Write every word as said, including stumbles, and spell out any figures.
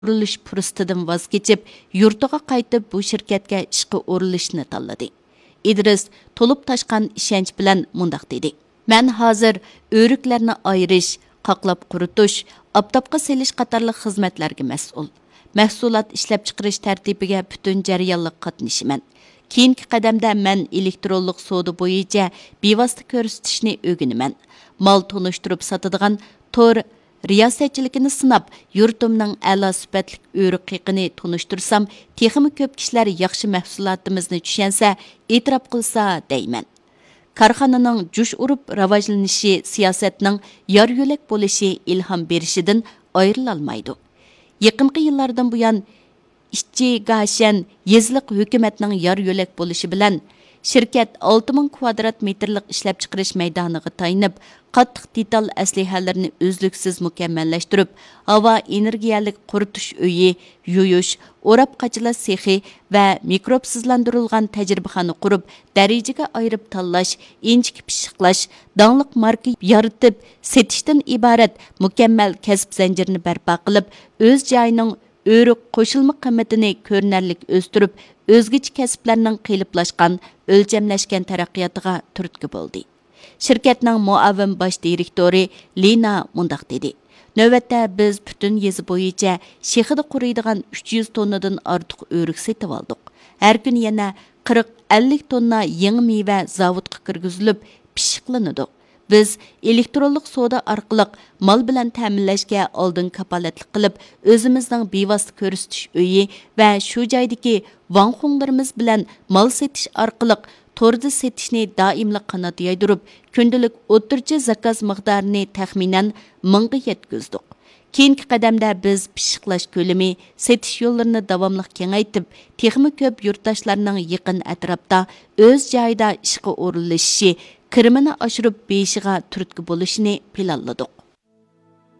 ئورۇنلىشىش پۇرسىتىدىن ۋاز كېچىپ، يۇرتىغا قايتىپ، بۇ شىركەتكە ئىشقا ئورۇنلىشىشنى تاللىدى. ئىدرىس تولۇپ تاشقان ئىشەنچ بىلەن مۇنداق دېدى: مەن ھازىر ئۆرۈكلەرنى ئايرىش، قاقلاپ قۇرۇتۇش، ئاپتاپقا سېلىش قاتارلىق خىزمەتلەرگە مەسئۇل. مەھسۇلات ئىشلەپچىقىرىش تەرتىپىگە پۈتۈن جەريانلىق قاتنىشىمەن. كېيىنكى قەدەمدە مەن ئېلېكترونلۇق سودا بويىچە بىۋاسىتە كۆرسىتىشنى ئۆگىنىمەن. مال تونۇشتۇرۇپ ساتىدىغان تور رىياسەتچىلىكىنى سىناپ، يۇرتۇمنىڭ ئەلا سۈپەتلىك ئۆرۈك قېقىنى تونۇشتۇرسام، تېخىمۇ كۆپ كىشىلەر ياخشى مەھسۇلاتىمىزنى چۈشەنسە، ئېتىراپ قىلسا دەيمەن. كارخانىنىڭ جۇش ئۇرۇپ راۋاجلىنىشى، سىياسەتنىڭ يار يۆلەك بولۇشى ئىلھام بېرىشىدىن ئايرىلالمايدۇ. يېقىنقى يىللاردىن بۇيان، ئىچىگاشەن يېزىلىق ھۆكۈمەتنىڭ يار يۆلەك بولۇشى بىلەن، شىركەت ئالتە مىڭ كۋادرات مېتىرلىق ئىشلەپچىقىرىش مەيدانىغا تايىنىپ، قاتتىق دېتال ئەسلىھەلىرىنى ئۈزلۈكسىز مۇكەممەللەشتۈرۈپ، ھاۋا ئېنېرگىيەلىك قۇرۇتۇش ئۆيى، يۇيۇش، ئوراپ قاچىلاش سېخى ۋە مىكروبسىزلاندۇرۇلغان تەجرىبىخانا قۇرۇپ، دەرىجىگە ئايرىپ تاللاش، ئىنچىكە پىششىقلاش، داڭلىق ماركا يارىتىپ سېتىشتىن ئىبارەت مۇكەممەل كەسىپ زەنجىرىنى بەرپا قىلىپ، ئۆز جايىنىڭ ئۆرۈك قوشۇلما قىممىتىنى كۆرۈنەرلىك ئۆستۈرۈپ، ئۆزگىچە كەسىپلەرنىڭ قېلىپلاشقان، ئۆلچەملەشكەن تەرەققىياتىغا تۈرتكە بولدى. شىركەتنىڭ مۇئاۋىن باش دىرېكتورى لىنا مۇنداق دېدى: نۆۋەتتە بىز پۈتۈن يېزا بويىچە شېخىدا قۇرۇيدىغان ئۈچ يۈز توننىدىن ئارتۇق ئۆرۈك سېتىۋالدۇق. ھەر كۈنى يەنە قىرىق، ئەللىك توننا يېڭى مېۋە زاۋۇتقا كىرگۈزۈلۈپ، پىششىقلىنىدۇ. بىز ئېلېكترونلۇق سودا ئارقىلىق مال بىلەن تەمىنلەشكە ئالدىن كاپالەتلىك قىلىپ، ئۆزىمىزنىڭ بىۋاسىتە كۆرسىتىش ئۆيى ۋە شۇ جايدىكى ۋاڭخۇڭلىرىمىز بىلەن مال سېتىش ئارقىلىق توردا سېتىشنى دائىملىق قانات يايدۇرۇپ، كۈندىلىك ئوتتۇرىچە زاكاز مىقدارىنى تەخمىنەن مىڭغا يەتكۈزدۇق. كېيىنكى قەدەمدە بىز پىششىقلاش كۆلىمى، سېتىش يوللىرىنى داۋاملىق كېڭەيتىپ، تېخىمۇ كۆپ يۇرتداشلارنىڭ يېقىن ئەتراپتا ئۆز جايىدا ئىشقا ئورۇنلىشىشى، كىرىمىنى ئاشۇرۇپ بېيىشىغا تۈرتكە بولۇشىنى پىلانلىدۇق.